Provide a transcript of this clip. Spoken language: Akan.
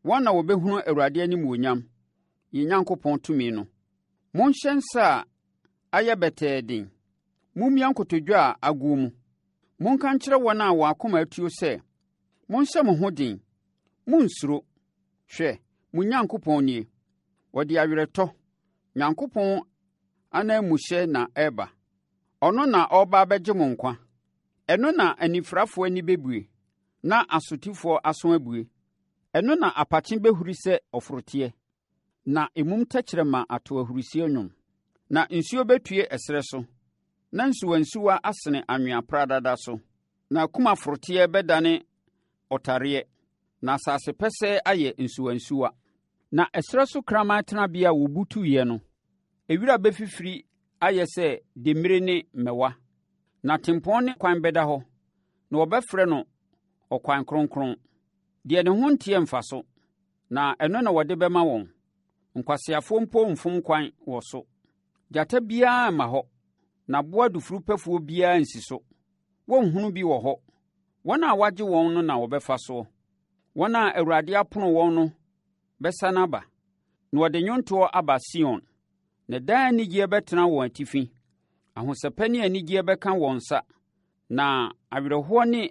Wɔn na wɔbɛhunu Awurade animuonyam, yɛn Nyankopɔn tumi no. Monhyɛ nsa a ayɛ bɛtɛɛ den. Mommia nkotodwe a agoɔ mu. Monka nkyerɛ wɔn a wɔn akoma atuo sɛ, Monhyɛ mo ho den, monnsuro. Hwɛ, mo Nyankopɔn nie! Ɔde awerɛtɔ, Nyankopɔn ananmuhyɛ na ɛreba. Ɔno na ɔreba abɛgye mo nkwa. Ɛno na anifirafoɔ ani bɛbue, na asotifoɔ aso abue. Ɛno na apakye bɛhuri sɛ ɔforoteɛ, na emum tɛkyerɛma ato ahurisie nnwom. Na nsuo bɛtue ɛserɛ so, na nsuwansuwa asene anwea pradada so. Na kumaforoteɛ bɛdane ɔtareɛ, na asase pɛsɛɛ ayɛ nsuwansuwa. Na ɛserɛ so kraman tenabea a wɔbutuiɛ no, ewira bɛfifiri ayɛ sɛ demmire ne mmɛwa. Na tempɔn ne kwan bɛda hɔ, na wɔbɛfrɛ no Ɔkwan Kronkron. Deɛ ne ho nteɛ mfa so, na ɛno na wɔde bɛma wɔn. Nkwaseafoɔ mpo mfom kwan wɔ so. Gyata biara mma hɔ, na aboa dufurupɛfoɔ biara nsi so. Wɔrenhunu bi wɔ hɔ. Wɔn a wɔagye wɔn no na wɔbɛfa soɔ. Wɔn a Awurade apono wɔn no bɛsane aba, na wɔde nnwontoɔ aba Sion. Na daa anigyeɛ bɛtena wɔn atifi. Ahosɛpɛ ne anigyeɛ bɛka wɔn nsa, na awerɛhoɔ ne